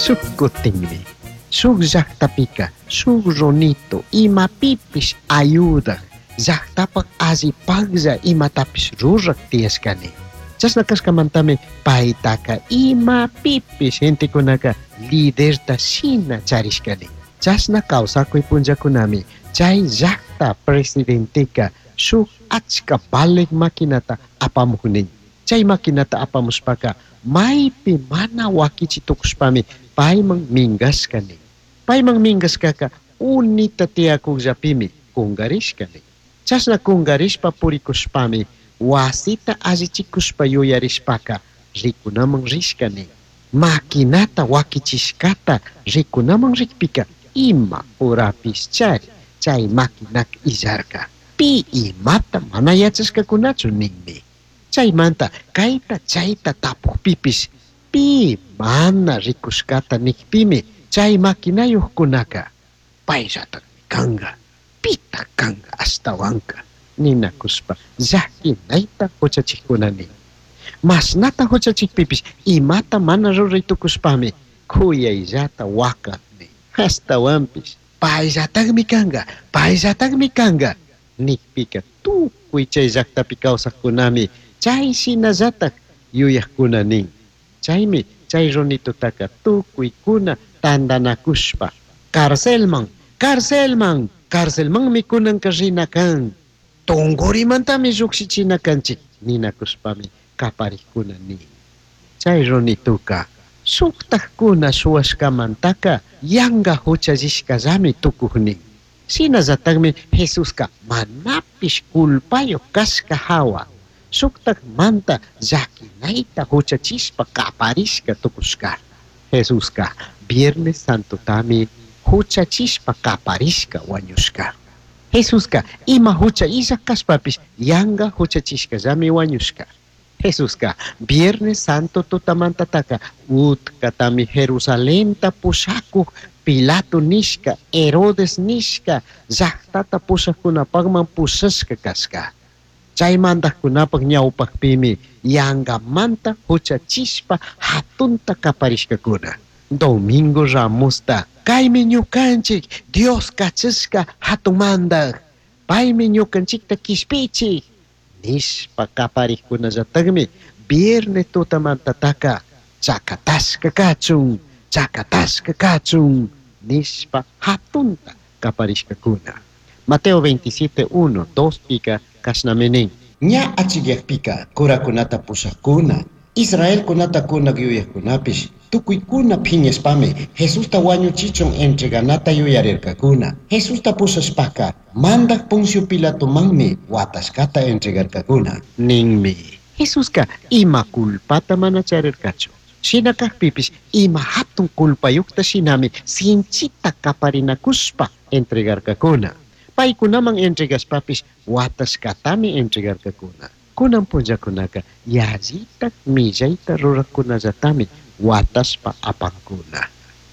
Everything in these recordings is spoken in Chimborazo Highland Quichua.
Shuj cutinmi, shuj llajtapica shuj runito imapipish ayudaj, llajtapaj allipajlla imatapish ruraj tiyashcani. Chashna cashcamantami paitaca imapipish gentecunaca liderta shina charishcani. Chashna causacui punllacunami chai llajta presidenteca shuj achca valij maquinata apamuj nin. Chai maquinata apamushpaca maipi mana huaquichi tucushpami paiman mingashca nin. Paiman mingashcaca unita tiyacujllapimi cungarishca nin. Chashna cungarishpa puricushpami huasita allichicushpa yuyarishpaca ricunaman rishca nin. Maquinata huaquichishcata ricunaman rijpica ima horapish chari chai maquinaca illarca. Pi imata mana yachashcacunachu ninmi. Chaimanta caita chaita tapujpipish pi mana ricushcata nijpimi chai maquinayujcunaca paillatajmi canga, pitaj canga ashtahuanca ninacushpa llaquinaita juchachijcuna nin. Mashnata juchachijpipish imata mana rurai tucushpami cuyaillata huacaj nin. Ashtahuanpish paillatajmi canga, paillatajmi canga nijpica tucui chai llajtapi causajcunami chai shinallataj yuyajcuna nin. Chaimi chai runitutaca tucuicuna tandanacushpa carcelman, carcelman, carcelmanmi cunanca rina can. Tungurimantami llujshichina canchij ninacushpami caparijcuna nin. Chai runituca shujtajcuna shuhuashcamantaca yanga juchallishcallami tucuj nin. Shinallatajmi Jesusca manapish culpayuj cashca jahua shujtajmanta llaquinaita juchachishpa caparishca tucushca. Jesusca Viernes Santotami juchachishpa caparishca huañushca. Jesusca ima jucha illaj cashpapish yanga juchachishcallami huañushca. Jesusca Viernes Santo tutamantataca utcatami Jerusalenta pushacuj Pilato nishca, Herodes nishca llajtata pushajcunapajman pushashca cashca. Chai mandajcunapaj ñaupajpimi yangamanta juchachishpa jatunta caparishcacuna. Domingo Ramosta, caimi ñucanchij Dios cachashca jatun mandaj, paimi ñucanchijta quishpichij nishpa caparijcunallatajmi viernes tutamantataca chacatashca cachun, chacatashca cachun nishpa jatunta caparishcacuna. Mateo 27, 1, 2 pica cashnami nin. Ña achiyajpica curacunata pushajcuna, Israelcunata cunaj yuyajcunapish tucuicuna phiñashpami Jesusta huañuchichun entreganata yuyarircacuna. Jesusta pushashpaca mandaj Poncio Pilatomanmi huatashcata entregarcacuna. Ninmi. Jesusca ima culpata mana charircachu. Shina cajpipish ima jatun culpayujta shinami sinchita caparinacushpa entregarcacuna. Paicunaman entregashpapish huatashcatami entregarcacuna. Cunan punllacunaca yallitaj millaita rurajcunallatami huatashpa apancuna.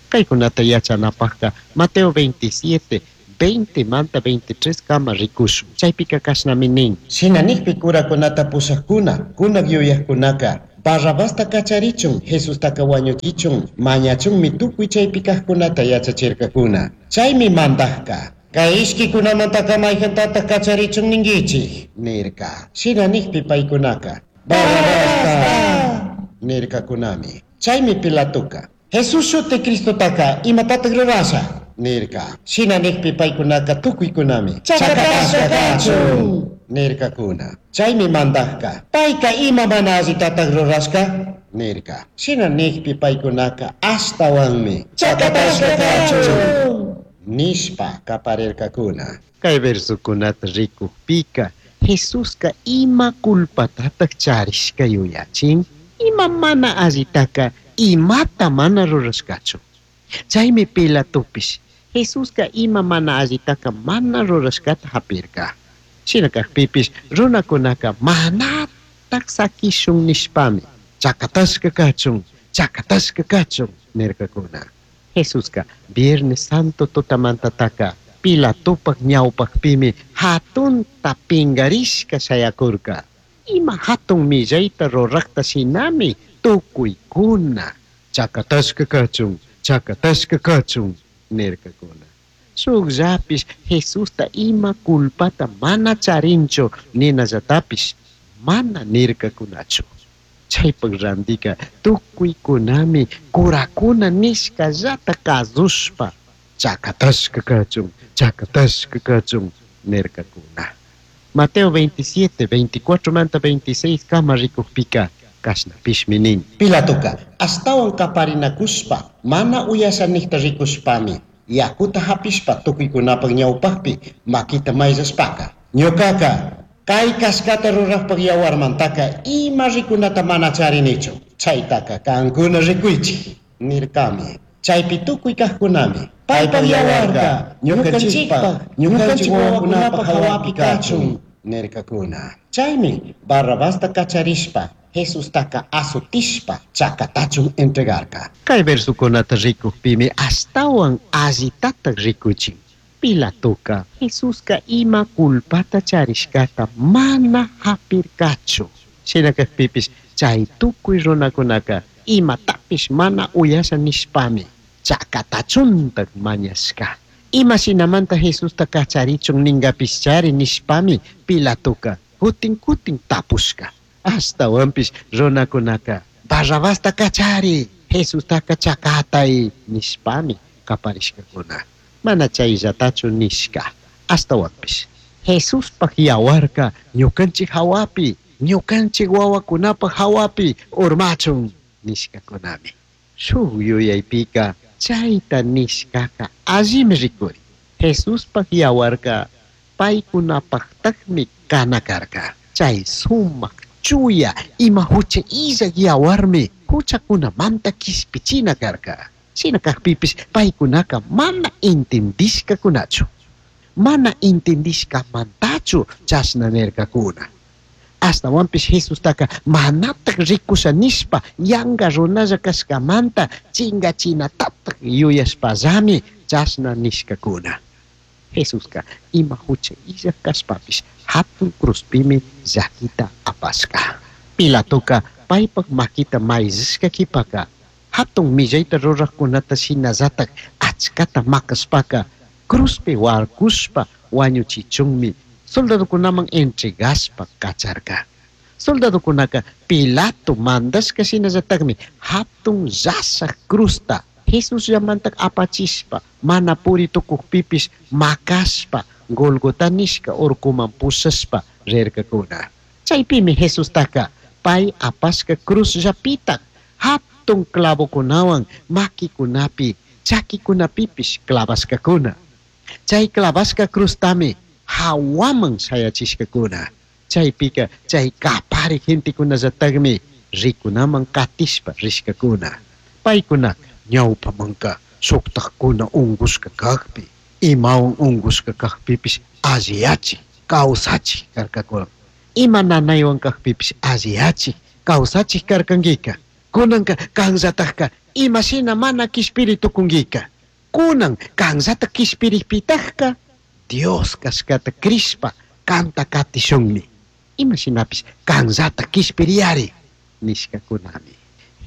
Caicunata yachanapajca Mateo 27, 20 manta 23 kama ricushun. Chaipica cashnami nin. Shina nijpi curacunata pushajcuna, cunaj yuyajcunaca Barrabasta cacharichun, Jesustaca huañuchichun, mañachunmi tucui chaipi cajcunata yachachircacuna. Chaimi mandajca, Cai ishquicunamantaca maijantataj cacharichun ninguichij, nirca. Shina nijpi paicunaca, Barrabasta, nircacunami. Chaimi Pilatoca, Jesús shuti Cristotaca imatataj rurasha, nirca. Shina nijpi paicunaca tucuicunami, Chacatashca cachun, nircacuna. Chaimi mandajca, paica ima mana allitataj rurashca, nirca. Shina nijpi paicunaca ashtahuanmi, Chacatashca cachun, nishpa caparircacuna. Cai versocunata ricujpica Jesusca ima culpatataj charishca yuyachin, ima mana allitaca imata mana rurashcachu. Chaimi Pilatopish Jesusca ima mana allitaca mana rurashcata japirca. Shina cajpipish runacunaca manataj saquishun nishpami chacatashca cachun, chacatashca cachun nircacuna. Jesusca Viernes Santo tutamantataca Pilatopaj ñaupajpimi jatunta pingarishca shayacurca. Ima jatun millaita rurajta shinami tucuicuna chacatashca cachun, Chacatashca kachun nirkakuna. Shukllapish Jesusta ima culpata mana charinchu ninallatapish mana nirkakunachu. Chaypak randika tukuykunami curakuna nishkallata kazushpa chacatashka kachun, chacatashka kachun nirkakuna. Mateo 27, 24 manta 26 kama rikukpika kashnapishmi nin. Pilatoka ashtawan kaparinakushpa mana uyashanikta rikushpami yakuta hapishpa tukuykunapak ñawpakpi makita mayllashpaka ñukaka kay kashkata rurajpak yawarmantaka ima rikunata mana charinichu chaytaka kankuna rikuychik nirkami. Chaypi tukuy kaqkunami paypak yawarka ñukanchikpak ñukanchik wawakunapak hawapi kachun nirkakuna. Chaymi Barrabasta kacharishpa Jesustaka azotishpa chakatachun entregarka. Kay versukunata rikukpimi ashtawan allitatak rikuchin. Pilatoka Jesuska ima culpata charishkata mana hapirkachu. Shina kakpipish chay tukuy runakunaka imatapish mana uyasha nishpami chakatachuntak mañashka. Ima shinamanta Jesusta kacharichun ninkapishchari nishpami Pilatoka kutin kutin tapushka. Ashtawanpish runakunaka Barrabasta kachari, Jesustaka chakatay nishpami kaparishkakuna. Mana chayllatachu nishka. Ashtawanpish Jesuspaj yawarka ñukanchik hawapi, ñukanchik wawakunapaj hawapi urmachun nishkakunami. Shuk yuyaypika chayta nishkaka allimi rikuri. Jesuspaj yawarka paykunapajtakmi kana karka. Chay sumak chuya ima hucha illak yawarmi huchakunamanta kishpichina karka. Shina kakpipish paykunaka mana intindishkakunachu. Mana intindishkamantachu chashna nirkakuna. Ashtawanpish Jesustaka manatak rikusha nishpa yanka runalla kashkamanta chinkachinatatak yuyashpallami chashna nishkakuna. Jesuska ima hucha illak kashpapish hatun cruzpimi llakita apashka. Pilatoka paypak makita mayllashka kipaka hatun millayta rurajkunata shinallatak achkata makashpaka cruzpi warkushpa wañuchichunmi soldadokunaman entregashpa kacharka. Soldadokunaka Pilato mandashka shinallatakmi hatun llashak cruzta Jesusllamanta apachishpa mana puri tukukpipish makashpa Golgota nishka urkuman pushashpa rirkakuna. Chaypimi Jesustaka pay apashka cruzllapitak hatun clavokunawan makikunapi chakikunapipish clavashkakuna. Chay clavashka cruztami hawaman shayachishkakuna. Chaypika chay kapari gentekunallatakmi rikunaman katishpa rishkakuna. Paykunaka ñawpamanka shuktakkuna unkushka kakpi, imawan unkushka kakpipish alliyachik, kawsachik karkakuna. Ima nanaywan kakpipish alliyachik, kawsachik karkankika. Kunanka kanllatakka imashina mana kishpiri tukunkika. Kunan kanllata kishpirikpitakka Dios kashkata krishpa kanta katishunmi. Imashinapish kanllata kishpiriyari nishkakunami.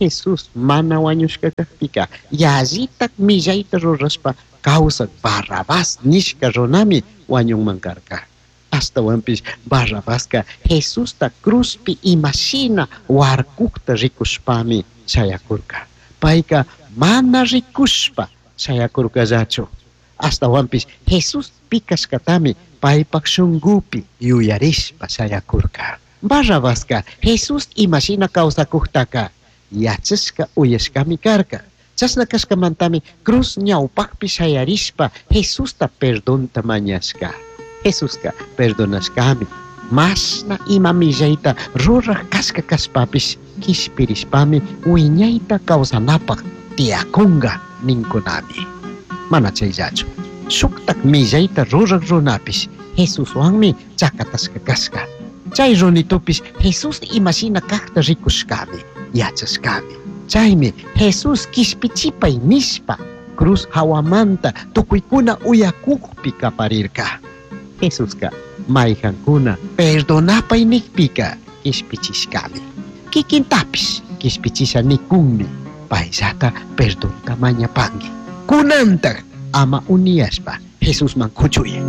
Jesús mana wañushka kakpika yallitak millayta rurashpa kawsak Barrabás nishka runami wañunman karka. Ashtawanpish Barrabaska Jesusta cruzpi imashina warkukta rikushpami shayakurka. Payka mana rikushpa shayakurkallachu. Ashtawanpish Jesús pi kashkatami paypak shunkupi yuyarishpa shayakurka. Barrabaska Jesús imashina kawsakuktaka yachashka uyashkami karka. Chashna kashkamantami cruz ñawpakpi shayarishpa Jesusta perdonta mañashka. Jesuska perdonashkami. Mashna ima millayta ruraj kashka kashpapish kishpirishpami wiñayta kawsanapak tiyakunka ninkunami. Mana chayllachu. Shuktak millayta ruraj runapish Jesuswanmi chakatashka kashka. Chay runitupish Jesús imashina kakta rikushkami, yachashkami. Chaymi Jesús kishpichipay nishpa cruz hawamanta tukuykuna uyakukpi kaparirka. Jesuska mayhankuna perdonapay nikpika kishpichishkami. Kikintapish kishpichisha nikunmi. Paillata perdonta mañapangui. Kunantaj ama uniyashpa Jesusman kuchuya.